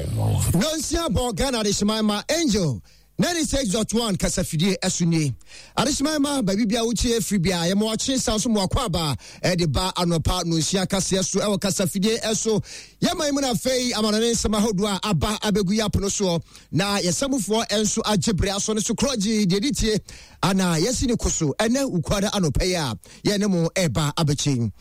Nonsia bɔ Ghana Adehyeman ma Angel 96.1 kasafidie ɛso nie. Adehyeman ma baabi bia wotie firi bia yɛma wakye san so mmoakɔ aba ɛde ba anɔpa nonsia kaseɛ so ɛwɔ kasafidie ɛso. Yɛma yi mu na afei amanɔne nsɛm ahodoɔ a aba abɛgu yɛ apono soɔ na yɛsɛmufoɔ nso agye bere aso no so korɔgye deɛ de tie ana yɛsi ne ko so ɛnɛ wukuada anɔpa yi a yɛne mo ɛreba abɛkyɛ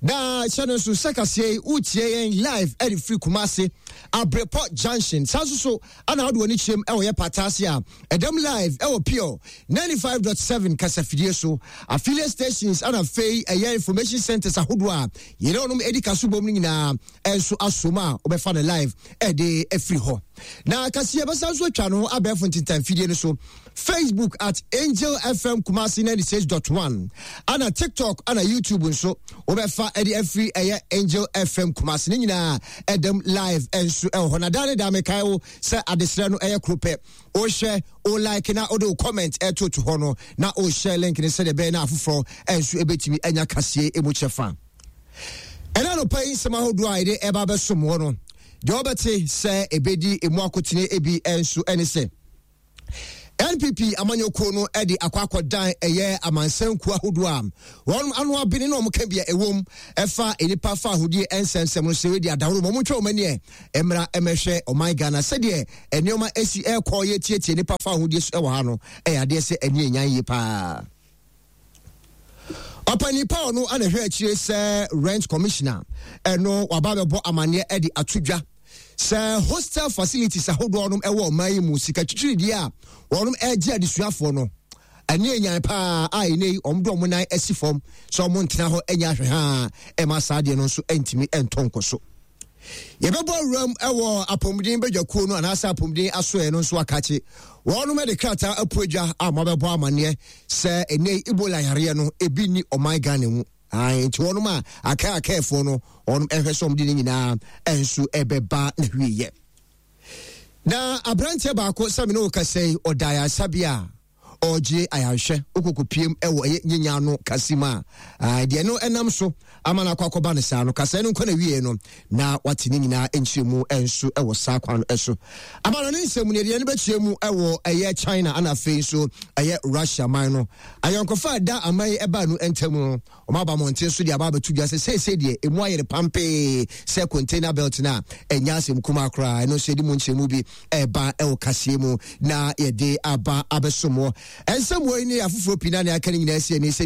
na hyɛ no nso sɛ kaseɛ yi wotie yɛn live ɛde firi Kumase Abrepɔ Junction saa nso so ana wode w'ani kyerɛm ɛwɔ yɛ pataase a ɛdam live ɛwɔ Pure 95.7 kasafidie so affiliate stations ana afei ɛyɛ information centers ahodoɔ a yɛne ɔnom ɛdi kaso bom no nyinaa ɛnso asom a wobɛfa no live ɛde afiri hɔ na kaseɛ bɛsa nso atwa no abɛɛfo ntentan fidie no so Facebook at Angel FM Kumasi 96.1 ana TikTok ana YouTube nso wobɛfa ɛde afiri ɛyɛ Angel FM Kumasi ne nyinaa ɛdam live ɛnso ɛwɔ hɔ na daa ne daa mekae wo sɛ adesrɛ no ɛyɛ koro pɛ wohwɛ wo like na wode wo comment ɛtoto hɔ no na wohyɛ link no sɛdeɛ ɛbɛyɛ na afoforɔ ɛnso ɛbɛtumi anya kaseɛ ɛmu kyɛfa. Ɛna anɔpa yi nsɛm ahodoɔ a yɛde ɛba bɛsom wɔ no, deɛ wɔbɛte sɛ ɛbɛdi emu akotene ebi nso ɛne sɛ NPP amanyɔkuo no de akɔ akɔdan ɛyɛ amansankuo ahodoɔ a wɔn ano abene na wɔn ka bia ɛwom ɛfa nnipa fa ahodie nsɛnsɛm no sɛ wɔadi adaworo ma wɔn ntwa wɔn ani ɛ mmra mmɛhwɛ ɔman Ghana sɛdeɛ nneɛma esi ɛrekɔ yɛtietie nnipa fa ahodie so ɛwɔ ha no ɛyɛ adeɛ sɛ ɛni ɛnyan yie paa. Ɔpanin pa ɔno ana hwɛ akyire sɛ rent commissioner ɛno waba bɛbɔ amaneɛ ɛde ato dwa sɛ hostel facilities ahodoɔ nom ɛwɔ ɔman yi mu sika twitwiridie a wɔnom ɛgye adesuafoɔ no ɛne enyan paa a ɛnɛ yi wɔn de wɔn nan asi fam sɛ wɔn ntena hɔ ɛnyɛ ahwɛ ha ɛma saa adeɛ no nso ɛntumi ɛntɔ nkɔ so. Yɛbɛbɔ awuram wɔ apɔmuden badwakuo no anaasɛ apɔmuden asoɛ no nso akakye. Wɔnom de krataa apu adwa a wɔabɛbɔ amanneɛ sɛ ɛnɛ Ebola yareɛ no ebi nni ɔman Ghana mu. Nti wɔnom a aka akaɛfoɔ no wɔnom ɛhwɛ sɛ wɔde ne nyinaa nso ɛbɛba na hwieyɛ. Na aberanteɛ baako sɛ me ne wo kasa yi ɔda ayaresabea a ɔregye ayarehwɛ wokɔkɔpiem wɔ ɛyɛ nyenya no kase mu a deɛ no ɛnam so ama no akɔ akɔba no saa no kasaɛ no nkɔ na wie no na wate ne nyinaa nkyerɛ mu nso wɔ saa kwan no so ama no ne nsɛm no deɛ no bɛkyerɛ mu wɔ ɛyɛ China ana afei nso ɛyɛ Russia man no ayɔnkofa ɛda aman yi ɛbaa no ntam no Wɔn aba mmɔnten so de aba abɛto dwa sɛ seesei deɛ emu ayere pampee sɛ container belt no a ɛnyɛ asɛm kumaa koraa. Ɛno nso yɛde mu nkyerɛmu bi ɛreba ɛwɔ kaseɛ mu na yɛde aba abɛsom wɔ. Nsɛm wei ne afoforɔ pii na nea aka no nyinaa si ani sɛ